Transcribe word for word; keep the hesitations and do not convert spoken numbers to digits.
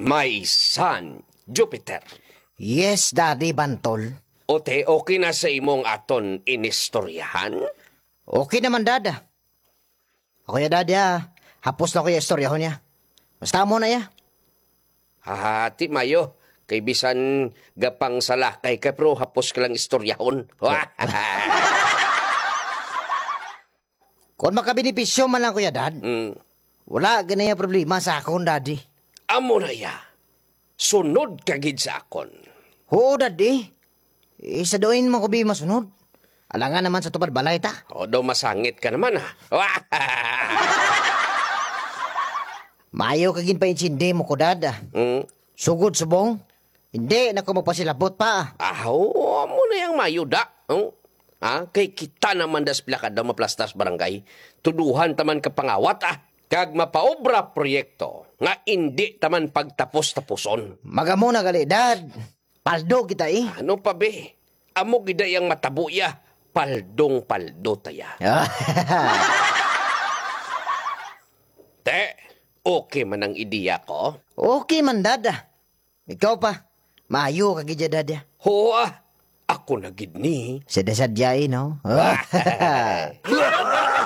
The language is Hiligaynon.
My son, Jupiter. Yes, Daddy Bantol. O te, okay na sa imong aton inistoryahan? Okay naman, Dad. Ako ya, Dad, ya. Hapos na ko ya istoryahon niya. Basta mo na ya. Hahati, Mayo. Kay bisan gapang salakay ka, pero hapos ka lang istoryahon. Kung makabenepisyo man lang, Kuya Dad, Mm. wala gani nga problema sa akon, Daddy. Amo na ya. Sunod ka gid sa akon. Oo, Daddy. Eh, sa diin man ko bi masunod? Alangan naman sa tupad balay ta. O, daw masangit ka naman, ha? Maayo ka ginpaintindi mo ko, Dad, ah. Mm. Sugod subong, hindi na ko magpasilabot pa, ah. Aw, amo na yang mayo, da. Oh? Ha? Kay kita naman das pila ka daw maplastas barangay. Tuduhan taman ka pangawat, ah. Kag mapaobra proyekto nga indi taman pagtapos-tapuson. Magamo na gali, Dad. Paldo kita, eh. Ano pa, be? Amo gid ang matabo ya. Paldong-paldo ta ya. Te, okay man ang ideya ko? Okay man, Dad, ah. Ikaw pa, maayo ka gid ya, Dad, ah. Ho, ah. Ako na gid ni. Sadya-sadya, eh, no?